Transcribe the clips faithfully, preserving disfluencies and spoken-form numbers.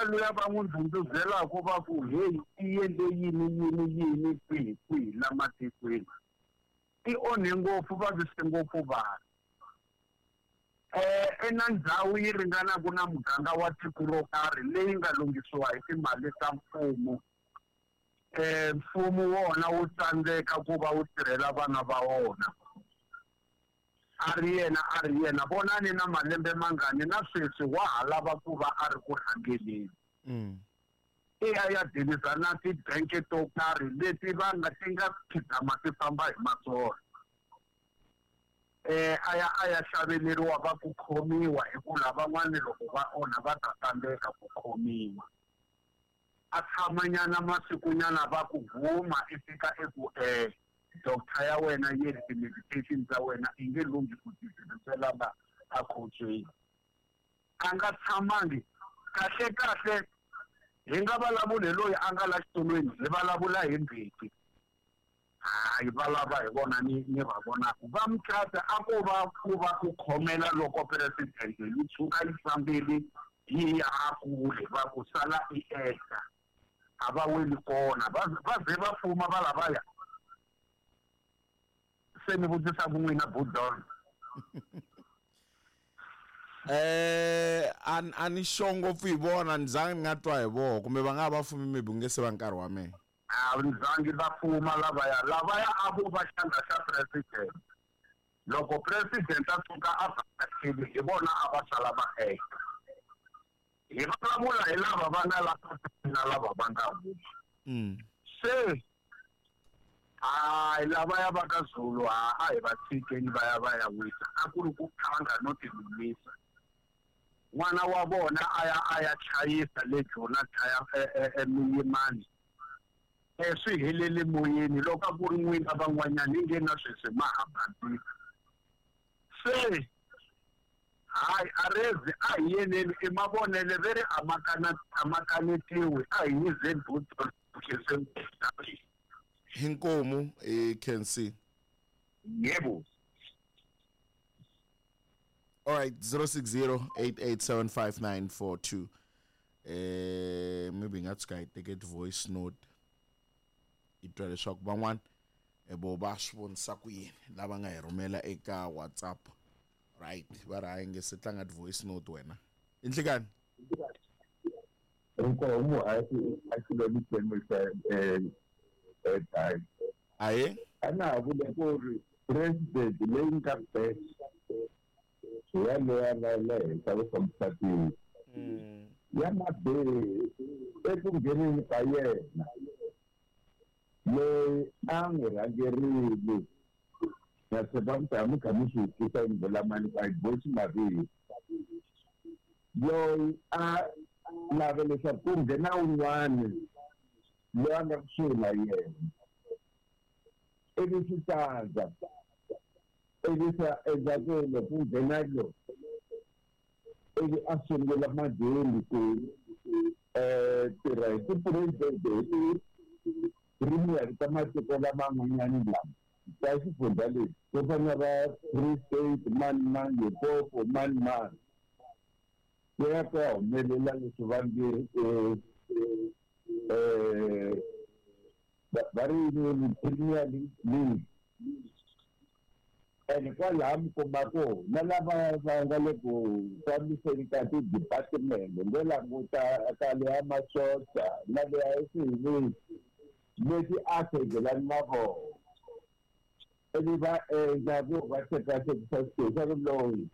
luya va n'wi ndhundhuzelaka va ku heyi i endle yini yini yini kwihi kwihi la matikweni ti onhe ngopfu vavise ngopfu vanhu eh ena ndhawu yi ringanaka na muganga wa tiko ro karhi leyi nga lunghisiwa hi timali ta mfumo eh mfumo wona wu tsandzeka ku va wu tirhela vana va wona a ri yena a ri yena vonani na malembe mangani na sweswi wa ha lava ku va a ri ku rhangeleni i ya ya dilisa na tibanke to karhi leti va nga ti nga khidama ti famba hi matsolo eh a ya a ya xaveleriwa va ku khomiwa hi ku lavan'wani loko va onha va ta tsandzeka ku khomiwa a tshamanyana masikunyana va ku huma i fika eku eh doctor ya wena yi ri ti-medication ta wena i nge lunghi ku ti tirhisela la a khotsweni a nga tshamangi kahle kahle hi nga vulavuli loyi a nga la xitulwini hi vulavula hi Mbeki hayi va lava hi vona ni ni va vonaka va Mthatha a ko va ku va ku khomela loko president yi tshuka yi fambile yi ya kule va ku sala i ehla a va weli kona va va ze va fuma va lavaya se ni vutisa ku n'wina Budon eh an ani sure ngopfu hi vona ni zangi ni nga twa hi vona kumbe va nga va fumi maybe nge se va nkarhi wa mina a ni zangi va fuma lavaya lavaya a vo va xandla xa president loko president a tshuka a vhakachile hi vona a va sala va ehla hi vulavula hi lava va nga la na lava va nga huma se hayi lavaya va ka Zulu ha a hi va tshikeni va ya va ya wisa a ku ri ku phanga no tilumisa n'wana wa vona a ya a ya chayisa le Jona chaya emiyimani e swi helele moyeni loko a ku ri n'wina van'wanyana i nge na sweswi ma ha basisa se hayi arezi a hi yeneni i mavonele ve ri a ma kana a ma kanetiwi a hi yizeni Budon Hinkomu e can see. Yebo. All right, zero six zero eight eight seven five nine four two. Eh maybe nga tshuka hi teke voice note. I twa leswaku van'wana vo va swi vonisa ku yini lava nga hi rhumela eka WhatsApp. Right, va ri hayi nge se tlanga voice note wena. Inhlekani. Inkomu a a xilo ni eh aye ana vula ku ri president leyi nga best ya leya nga le henhla ku fambisa tiko ya Mabele eku ngheneni ka yena loyi a n'wi rhangerile na tshemba ku ta mi kha mi swi twisisa ni vula mani a yi boxi mavito loyi a lava leswaku ku nghena un'wana loyi a nga kusuhi na yena ivi swi tsandza ivi swi endla ku loko ku nghena lo ivi a sungula madeni ku tirha hi tipuresidente hi ti-premier ta matiko laman'wanyana lama ta xifundza lexi to fana na va Free State mani mani Limpopo mani mani ku ya ku ya humelela leswi va nge eh va ri Premier League ene kwalaha mi kuma ku na lava va nga le ku fambiseni ka ti-department ngo languta ka leya masocha na leya eswihilini leti a segelani na vona ivi va endla ku va tekatekisa swilo swa ku loyi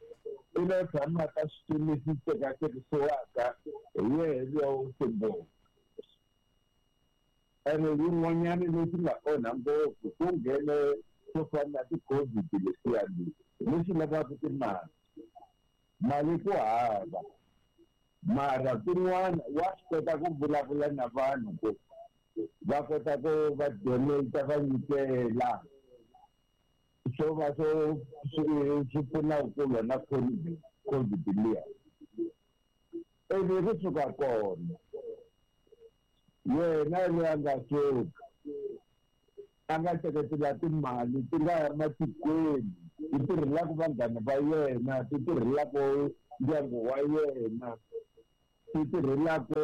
i lo tshamaka xitulu lexi tekatekisiwaka hi yehe luya wo sungula ene yin'wanyana lexi nga onha ngopfu ku nghene swo fana na ti-COVID leswiyani leswi lavaka timali mali ku hava mara tin'wana wa swi kota ku vulavula na vanhu ku va kota ku va donate va nyikela swo va swo swi pfuna ku lwa na COVID COVID liya ivi ri suka kona yena loyi a nga suka a nga teketela timali ti nga ya matikweni ti tirhelaka vanghana va yena ti tirhelaka ndyangu wa yena xi tirhelaka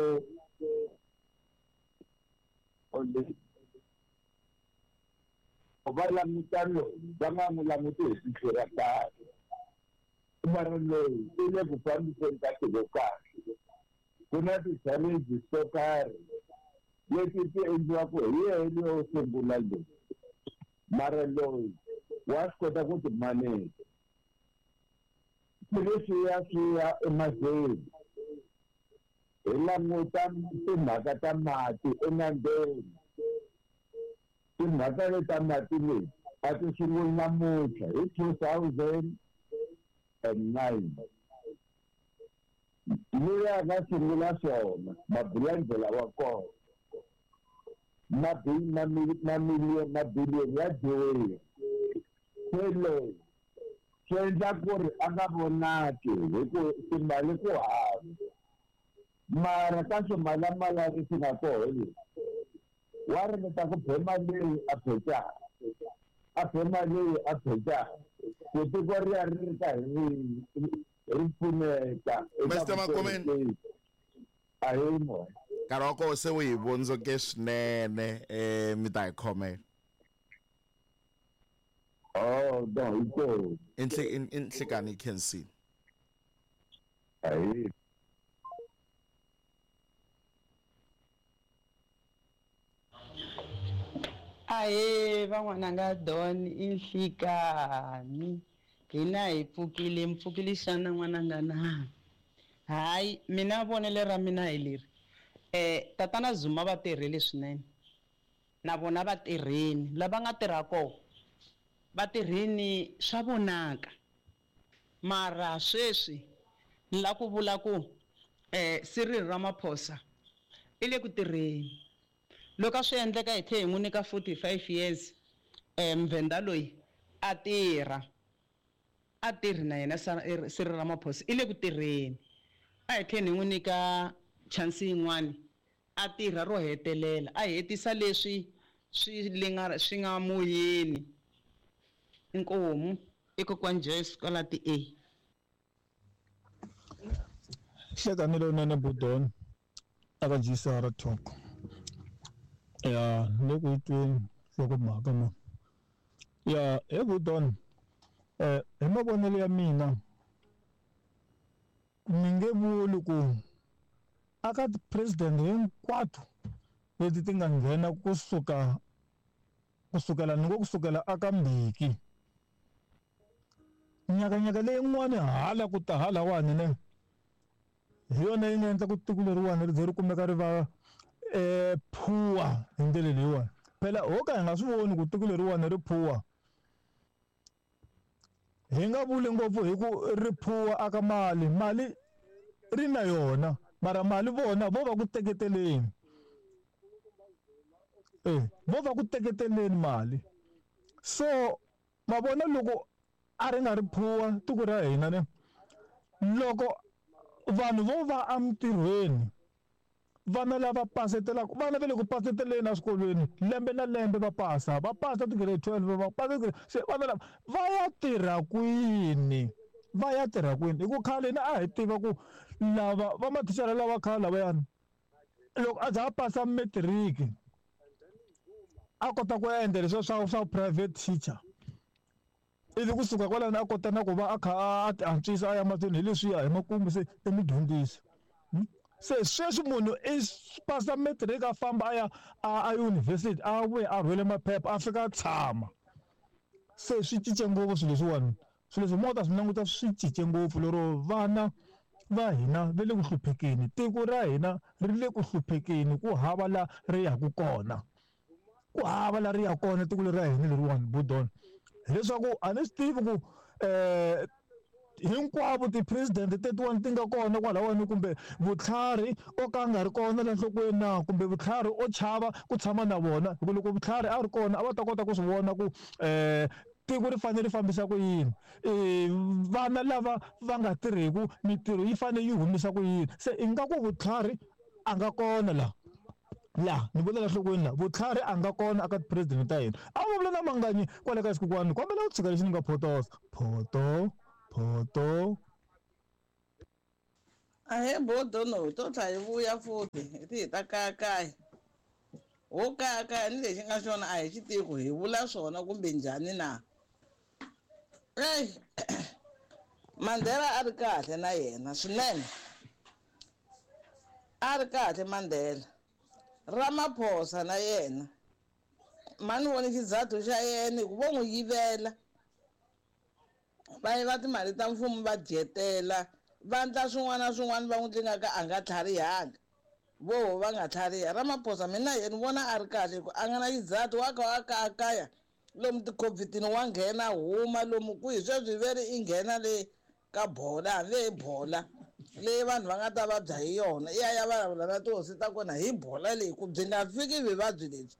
va languta loyi va nga n'wi languti hi tihlo ra kahle mara loyi i le ku fambiseni ka tiko kahle ku na ti-challenges to karhi leti ti endliwaka hi yena yo sungula loyi mara loyi wa swi kota ku ti maneja swilo leswiya swi ya emahlweni hi languta timhaka ta mati enambyeni timhaka leti ta mati leti a ti sunguli namuntlha hi two thousand and nine loyi a nga sungula swona mabulandlela wa kona mabiliyoni ya dyiwile se loyi swi endla ku ri a nga vonaki hi ku timali ku hava mara ka swimalamala leswi nga koho leswi wa ringeta ku phema leyi a phecaka a phema leyi a phecaka ku tiko ri ya ri ri karhi ri ri pfuneka Mister Makomeni a hi moya nkarhi wa koho se wu hi vondzoke swinene um mi ta hi khomela oh no hi kona i nhlikani hi khensile ahi Ahe van'wananga Don i nhlikani hina hi pfukile mi pfukile xana n'wananga na hayi mina vonelo ra mina hi leri eh tatana Zuma va tirhile swinene na vona va tirheni lava nga tirha kona va tirhini swa vonaka mara sweswi ni la ku vula ku eh Cyril Ramaphosa i le ku tirheni loko a swi endleka hi tlhe hi n'wi nyika forty-five years eh mvenda loyi a tirha a tirhi na yena Cyril Ramaphosa i le ku tirheni a hi tlheni hi n'wi nyika chance yin'wani a tirha ro hetelela a hetisa leswi swi linga swi nga moyeni inkomu i kokwani Joyce kwala ti A hlekani lowunene Budon aka G C R Talk ya le ku tweni nhlokomhaka ma ya he Budon eh hi mavonelo ya mina ni nge vuli ku aka ti-president hinkwato leti ti nga nghena kusuka kusukela ni ngo kusukela aka Mbeki nyakanyaka leyin'wani hala ku ta halawani ne hi yona yi nga endla ku tiko leriwani ri ze ri kumeka ri va eh poor hi ndlela leyiwani phela ho ka hi nga swi voni ku tiko leriwani ri poor hi nga vuli ngopfu hi ku ri poor aka mali mali ri na yona mara mali vona vo va ku teketeleni eh vo va ku teketeleni mali so ma vona loko a ri nga ri poor tiko ra hina ne loko vanhu vo va emitirhweni vana lava pasetelaka vana va le ku paseteleni eswikolweni lembe na lembe va pasa va pasa ti-grade twelve va pasa se vana lava va ya tirha kwini va ya tirha kwini hi ku khale na a hi tiva ku lava va mathicara lava khale lavayani loko a za a pasa matric a kota ku endla leswiya swa swa private teacher ivi kusuka kwalano a kota na ku va a kha a ti antswisa a ya mahlweni hi leswiya hi makumu se i mudyondzisi se sweswi munhu i pasa matric a famba a ya a university a vuya a rhwele maphepha a fika a tshama se swi cince ngopfu swilo leswiwani swilo leswi mo ta swi languta swi cince ngopfu lero vana va hina va le ku hluphekeni tiko ra hina ri le ku hluphekeni ku hava la ri yaku kona ku hava la ri ya kona tiko leri ra hina leriwani Budon hileswaku a ni swi tivi ku eh hinkwavo ti-president tetiwani ti nga kona kwalawani kumbe vutlhari o ka nga ri kona la nhlokweni na kumbe vutlhari o chava ku tshama na vona hi ku loko vutlhari a ri kona a va ta kota ku swi vona ku um tiko ri fanele ri fambisa ku yini um vana lava va nga tirhiku mitirho yi fanele yi humisa ku yini se ingaku vutlhari a nga kona laha la ni vula la nhlokweni la vutlhari a nga kona aka ti-president ta hina a va vula na Manganyi kwale ka xikokwani kombela u tshika lexi ni nga photosa photo photo Ahee bodono to tlha hi vuya futhi hi ti hi ta kayakaya. Ho kayakaya ni lexi nga xona a hi xi tivi ku hi vula swona kumbe njhani na. Eyi Mandela a ri kahle na yena swinene. A ri kahle Mandela. Ramaphosa na yena. Mani voni xizathu xa yena hi ku vo n'wi yivela. Va yiva timali ta mfumo va dyetela. Va endla swin'wana na swin'wana va n'wi tlingaka a nga tlharihanga. Voho va nga tlhariha. Ramaphosa mina yena ni vona a ri kahle hi ku a nga na xizathu wa ka wa kayakaya lomu ti-COVID-ini wa nghena huma lomu kwihi sweswi ve ri i nghena le ka bola hambi hi bola leyi vanhu va nga ta vabya hi yona i ya ya vulavula na tihosi ta kona hi bola leyi ku byi nga fiki vuvabyi lebyi.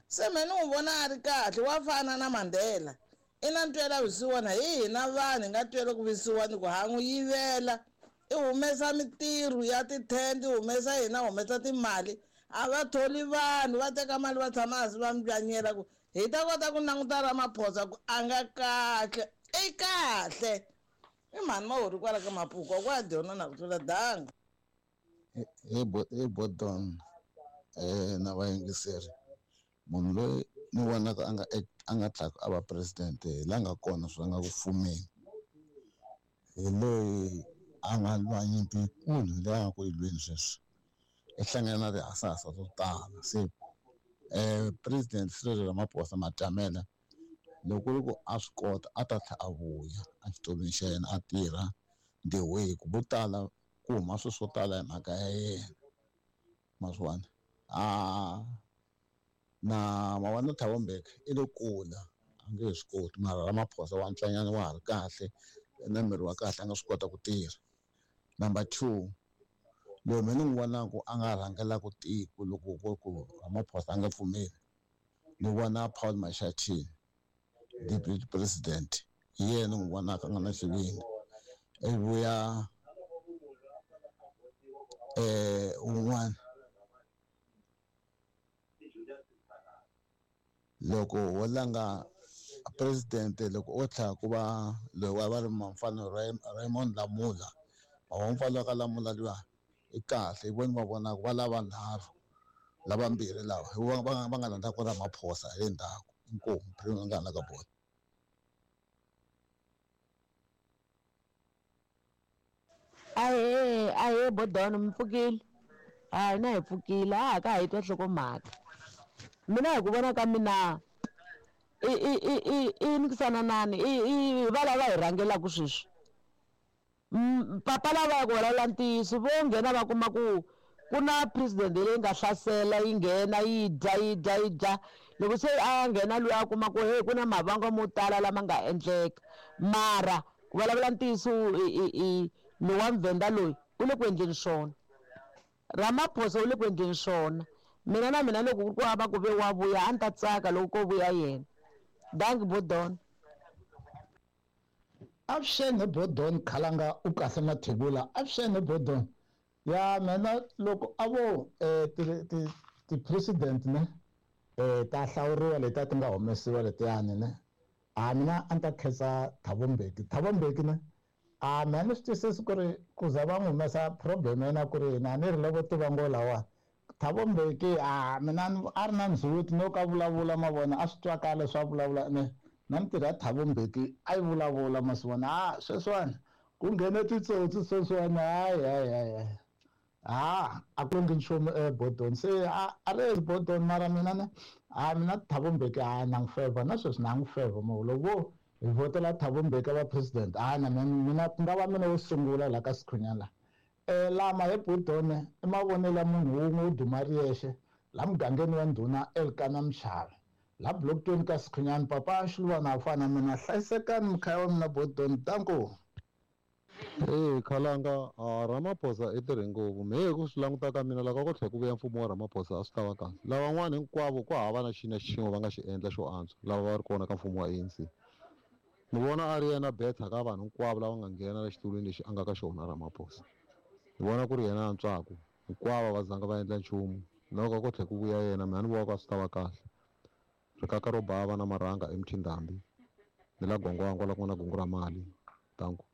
Se me ni n'wi vona a ri kahle wa fana na Mandela. I na ntwela vusiwana hi hina vanhu hi nga twela ku vusiwana ku ha n'wi yivela. I humesa mitirho ya tithende, i humesa hina humesa timali. A va tholi vanhu va teka mali va tshama hansi va mbyanyela ku hi ta kota ku languta Ramaphosa ku a nga kahle. I kahle. I mhani Mahori kwala ka Mapuku kwa dyona na ku tlula danga. Hi hi Bodon eh na vayingiseri munhu loyi ni vonaka a nga a nga tlhaka a va president hi la nga kona swi nga ku fumeni hi loyi a nga lwa nyimpi yikulu leyi a nga ku yi lweni sweswi i hlangana na tihasahasa to tala se eh president Cyril Ramaphosa Matamela loko ku ri ku a swi kota a ta tlhela a vuya exitulwini xa yena a tirha the way ku vo tala ku huma swilo swo tala hi mhaka ya yena ma swi vona a na mavona Thabo Mbeki i le kula a nge he swi koti mara Ramaphosa wa ntswanyana wa ha ri kahle na miri wa kahle a nga swi kota ku tirha. Number two loyi mina ni n'wi vonaka a nga rhangelaka tiko loko ku ku Ramaphosa a nga pfumeli ni vona Paul Mashatile deputy president hi yena ni n'wi vonaka a nga na xivindzi i vuya eh un'wana loko wo langa president loko o tlhela ku va loyi wa va ri mfana Raymond Lamula wa mfana ka Lamula luya i kahle hi vona va vonaka va lava nharhu lavambirhi lava hi va va nga landza ku Ramaphosa hi le ndzhaku inkomu phela nga na ka bolo. Ahee ahee Bodon mi pfukile hayi na hi pfukile a ha ka ha yi twa nhlokomhaka mina hi ku vona ka mina i i i i i nikisananani i i va lava hi rhangelaka sweswi papa lava ya ku vulavula ntiyiso vo nghena va kuma ku ku na president leyi nga hlasela yi nghena yi dya yi dya yi dya loko se a nghena loyi a kuma ku hey ku na mavangwa mo tala lama nga endleka mara ku vulavula ntiyiso i i lowa Mvenda loyi u le ku endleni swona Ramaphosa u le ku endleni swona mina na mina loko ku ri ku hava ku ve wa vuya a ni ta tsaka loko ko vuya yena. Dankie Bodon. Avuxeni Bodon Khalanga u kahle Mathebula avuxeni Bodon ya mina loko a vo eh ti ti ti-president ne eh ta hlawuriwa leti a ti nga humesiwa letiyani ne a mina a ni ta khensa Thabo Mbeki Thabo Mbeki ne a mina ni swi twisisi ku ri ku za va n'wi humesa problem ya yena ku ri yini a ni ri loko tiva ngo lawa Thabo Mbeki a mina a ri na ndzhuti no ka vulavula ma vona a swi twakala swa vulavula ne na mintirho ya Thabo Mbeki a yi vulavula ma swi vona a sweswiwani ku nghene titsotsi sweswiwani hayi hayi hayi ha a ku ngi nchumu eBodon se a a ri Bodon mara mina ne a mina Thabo Mbeki a na n'wi favor na sweswi na n'wi favor mo loko hi vhotela Thabo Mbeki va president a na mina ku nga va mina wo sungula la ka Sikhunyana la eh lama hi Bodon i mavonelo ya munhu wun'we wo duma ri yexe la mugangeni wa ndhuna Elkana Mchava la block twenty ka Sikhunyana papa Xiluvana a fana mina hlayisekani mukhaya wa mina Bodon danko. Hey Khalanga a Ramaphosa i tirhe ngopfu mehe ku swi languta ka mina loko ko tlhela ku vuya mfumo wa Ramaphosa a swi ta va kahle lavan'wana hinkwavo ku hava na xina xin'we va nga xi endla xo antswa lava va ri kona ka mfumo wa A N C ni vona a ri yena better ka vanhu hinkwavo lava nga nghena la xitulwini lexi a nga ka xona Ramaphosa ni vona ku ri yena antswaka hinkwavo va zanga va endla nchumu loko ko tlhela ku vuya yena mina ni vona ku a swi ta va kahle rikaka ro bava na marhanga emthindambi ni la gongwangwa la ku nga na gungu ra mali danko.